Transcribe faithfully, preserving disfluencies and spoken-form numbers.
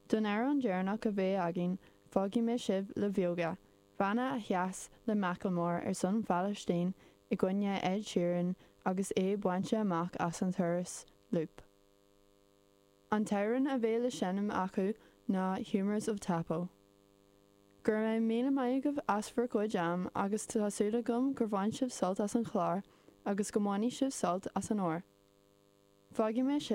Don amhrán deireanach a bheidh againn fágfaidh mé sibh le Bheoga, banna a sheas le Macklemore ar son Phalaistín i gcoinne Ed Sheeran agus é bainte amach as an turas Loop. An t-amhrán a bheidh le seinm acu ná Humours of Tapo. Go raibh míle maith agaibh as bhur gcuid am agus tá súil agam gur bhain sibh sult as an chlár agus go mbainfidh sibh sult as an uair. Fágfaidh mé sibh